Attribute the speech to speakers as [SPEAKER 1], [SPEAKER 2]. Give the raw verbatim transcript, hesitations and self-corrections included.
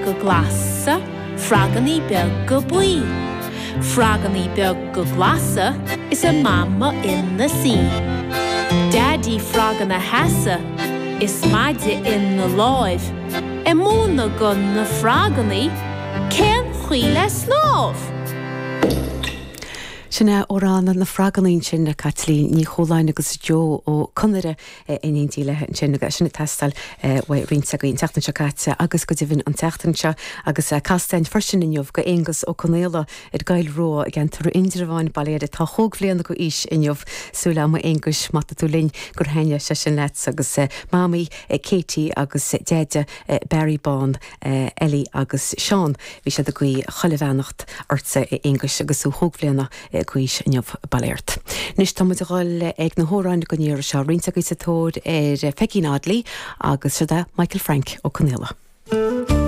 [SPEAKER 1] Glasa, frogannaí beaga buí. Frogannaí beaga glasa is a mama ina suí. Daidí frog ina sheasamh is maide ina láimh, ag múineadh do na frogannaí cén chaoi le snámh.
[SPEAKER 2] Sin é amhrán na bhfrogannaí sin le Caitlín Ní Chualáin agus Joe Ó Conaire in éindí léi ansin agus sin ag teastáil uaidh roinnt againn an tseachtain seo caite agus go deimhin an tseachtain seo agus castáin freisin inniu go Aonghus Ó Conaola ar Ghail Rua i gceantar Indreabháin Baile atá chúig bhliana d'aois inniu súil agam a Aonghuis má tá tú linn gur thaitin sé sin leat agus Mamaí Katie agus Deaide Barry Bán Ellie agus Seán bhí siad ag guí chuile bheannacht ortsa a Aonghuis agus tú chúig bhliana d'aois inniu bail ort. Anois tá muid ag dul ag na hamhráin don iarraidh seo roinnt agaibh sa tóir ar Pheigín Audley agus seo é Michael Frank Ó Conaola.